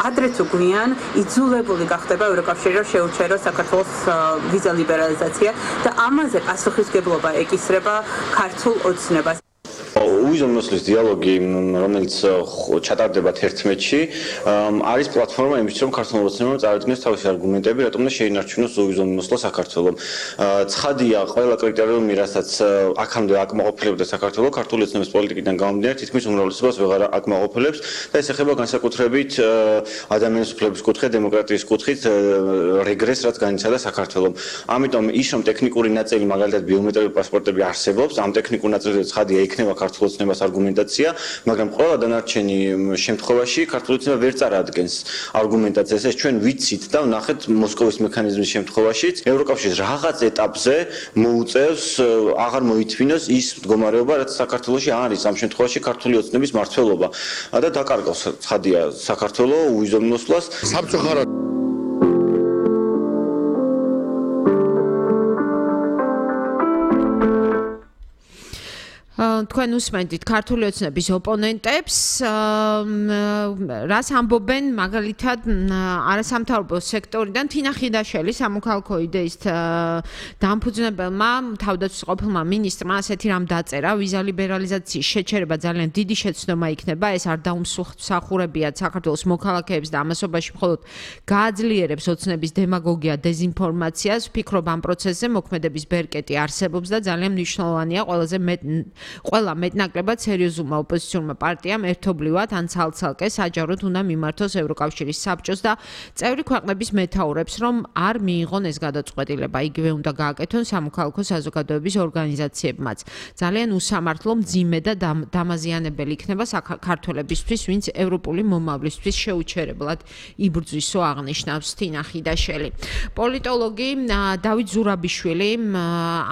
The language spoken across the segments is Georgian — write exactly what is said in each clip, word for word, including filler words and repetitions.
ადრეც უგვიან იძულებული გახდება ევროკავშირი რომ შეუჩერო საქართველოს ვიზა ლიბერალიზაცია და ამაზე პასუხისგებლობა ეკისრება ქართულ ოცნებას. უზომნოსლის დიალოგი, რომელიც ჩატარდება თერთმეტში, არის პლატფორმა იმისთვის, რომ ქართულ ოცნებამ წარადგინოს თავისი არგუმენტები, რატომ უნდა შეინარჩუნოს უზომნოსლა საქართველოს. ცხადია, ყველა კრიტერიუმი, რასაც აქამდე აკმაყოფილებდა საქართველოს, ქართული ოცნების პოლიტიკიდან გამომდინარე, თითქმის უმრავლესობას ვეღარ აკმაყოფილებს და ეს ეხება განსაკუთრებით ადამიანის უფლებების კუთხით, დემოკრატიის კუთხით რეგრესს, რაც განიცადა საქართველოს. ამიტომ ის, რომ ტექნიკური ნაწილი, მაგალითად ბიომეტრიული პასპორტები არსებობს, ამ ტექნიკურ ნაწილზე ცხადია იქნება ქართულ ოცნებას არგუმენტაცია, მაგრამ ყველა დანარჩენი შემთხვევაში ქართული ოცნება ვერ წარადგენს არგუმენტაციას. ეს ჩვენ ვიცით და ვნახეთ მოსკოვის მექანიზმის შემთხვევაშიც, ევროკავშირის რაღაც ეტაპზე მოუწევს აღარ მოითმინოს ის მდგომარეობა, რაც საქართველოში არის, ამ შემთხვევაში ქართული ოცნების მმართველობა და დაკარგავს ცხადია საქართველოს უზომნოსლას. საბჭოხარა თქვენ უსმენთ ქართული ოცნების ოპონენტებს, რას ამბობენ მაგალითად არასამთავრობო სექტორიდან თინა ხიდაშელი სამოქალაქო idეის დამფუძნებელმა თავდაცვის ყოფილმა მინისტრმა ასეთი რამ დაწერა, ვიზა ლიბერალიზაციის შეჩერება ძალიან დიდი შეცდომა იქნება, ეს არ დაუმსახურებიათ საქართველოს მოქალაქეებს და ამასობაში მხოლოდ გააძლიერებს ოცნების დემაგოგია, დეზინფორმაციას. ვფიქრობ ამ პროცესზე მოქმედების ბერკეტი არსებობს და ძალიან მნიშვნელოვანია ყველაზე მეტ ყველა მეტნაკლებად სერიოზულმა ოპოზიციურმა პარტიამ ერთობლივად ან ცალ-ცალკე საჯაროდ უნდა მიმართოს ევროკავშირის საბჭოს და წევრი ქვეყნების მეთაურებს, რომ არ მიიღონ ეს გადაწყვეტილება. იგივე უნდა გააკეთონ სამოქალაქო საზოგადოების ორგანიზაციებმაც. ძალიან უსამართლო, მძიმე და დამაზიანებელი იქნება საქართველებისთვის, ვინც ევროპული მომავლისთვის შეუჩერებლად იბრძვისო, აღნიშნავს თინა ხიდაშელი. პოლიტოლოგი დავით ზურაბიშვილი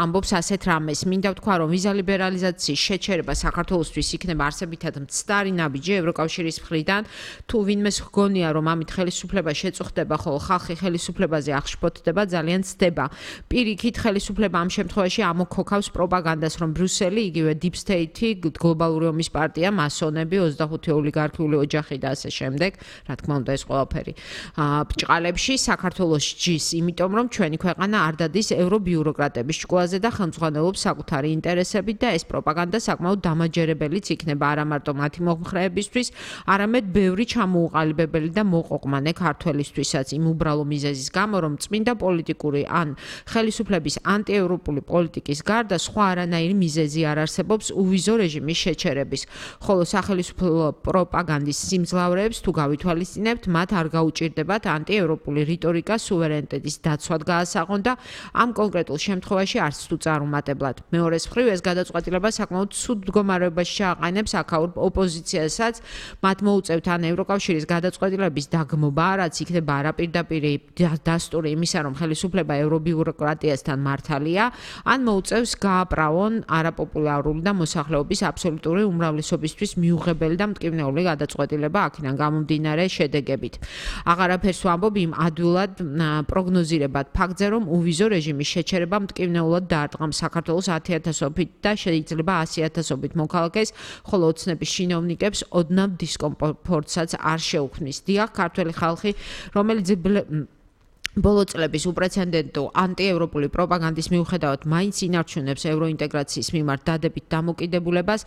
ამბობს ასეთ რამეს. მინდა ვთქვა, რომ ვიზა ლიბერალიზაციის შეჩერება საქართველოსთვის იქნება არსებითად მცდარი ნაბიჯი ევროკავშირის მხრიდან. თუ ვინმეს ჰგონია, რომ ამით ხელისუფლება შეწუხდება, ხოლო ხალხი ხელისუფლებაზე აღშფოთდება, ძალიან ცდება. პირიქით, ხელისუფლება ამ შემთხვევაში ამოქოქავს პროპაგანდას, რომ ბრიუსელი, იგივე Deep State, გლობალური ომის პარტია, მასონები, ოცდახუთი ოლიგარქიული ოჯახი და ასე შემდეგ, რა თქმა უნდა, ეს ყველაფერი ბჭყალებში საქართველოს ჯის, იმიტომ რომ ჩვენი ქვეყანა არ დადის ევრობიუროკრატების ჭკუაზე და ხელმძღვანელობს საკუთარი ინტერესებით და ეს პროპაგანდა საკმაოდ დამაჯერებელიც იქნება არა მარტო მათი მომხრეებისთვის, არამედ ბევრი ჩამოუყალიბებელი და მოყოყმანე ქართველისთვისაც იმ უბრალო მიზეზის გამო, რომ წმინდა პოლიტიკური ან ხელისუფლების ანტიევროპული პოლიტიკის გარდა სხვა არანაირი მიზეზი არ არსებობს უვიზო რეჟიმის შეჩერების. ხოლო სახელმწიფო პროპაგანდის სიმძლავრეებს თუ გავითვალისწინებთ, მათ არ გაუჭირდებათ ანტიევროპული რიტორიკა სუვერენიტეტის დაცვად გაასაღონ და ამ კონკრეტულ შემთხვევაში არც თუ წარუმატებლად. მეორეს მხრივ ეს გადაწყვეტილება საკმაოდ ცუდ მდგომარეობაში ჩააყენებს აქაურ ოპოზიციასაც, მათ მოუწევთ ან ევროკავშირის გადაწყვეტილების დაგმობა, რაც იქნება არაპირდაპირი დასტური იმისა, რომ ხელისუფლება ევრობიუროკრატიასთან მართალია, ან მოუწევს გააправონ არაპოპულარული და მოსახლეობის აბსოლუტური უმრავლესობისთვის მიუღებელი და მტკივნეული გადაწყვეტილება აქედან გამომდინარე შედეგებით. აღარაფერს ვამბობ იმ ადვილად პროგნოზირებად ფაქტზე, რომ უვიზო რეჟიმის შეჩერება მტკივნეულად დაარტყამს საქართველოს ათი ათასობით და შეიძლება ასი ათასობით მოქალაქეს, ხოლო ოცნების ჩინოვნიკებს ოდნავ დისკომფორტსაც არ შეუქმნის. დიახ, ქართველი ხალხი, რომელიც ბოლო წლების უპრეცედენტო ანტიევროპული პროპაგანდის მიუხედავად მაინც ინარჩუნებს ევროინტეგრაციის მიმართ დადებით დამოკიდებულებას,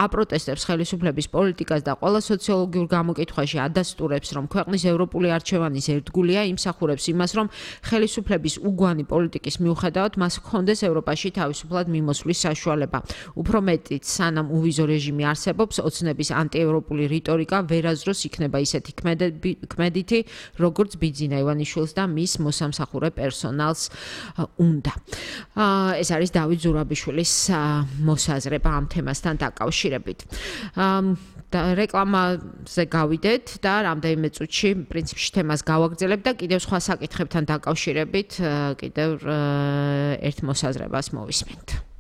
აპროტესტებს ხელისუფლების პოლიტიკას და ყველა სოციოლოგიურ გამოკითხვაში ადასტურებს, რომ ქვეყნის ევროპული არჩევანის ერთგულია, იმსახურებს იმას, რომ ხელისუფლების უგვანი პოლიტიკის მიუხედავად მას ჰქონდეს ევროპაში თავისუფლად მიმოსვლის საშუალება. უფრო მეტიც, სანამ უვიზო რეჟიმი არსებობს, ოცნების ანტიევროპული რიტორიკა ვერაზროს იქნება ისეთი ქმედითი, როგორც ბიძინა ივანიშვილს და მის მოსამსახურე პერსონალს უნდა. ეს არის დავით ზურაბიშვილის მოსაზრება ამ თემასთან დაკავშირებით. რეკლამაზე გავიდეთ და რამდენიმე წუთში პრინციპში თემას გავაგრძელებ და კიდევ სხვა საკითხებთან დაკავშირებით კიდევ ერთ მოსაზრებას მოვისმენთ.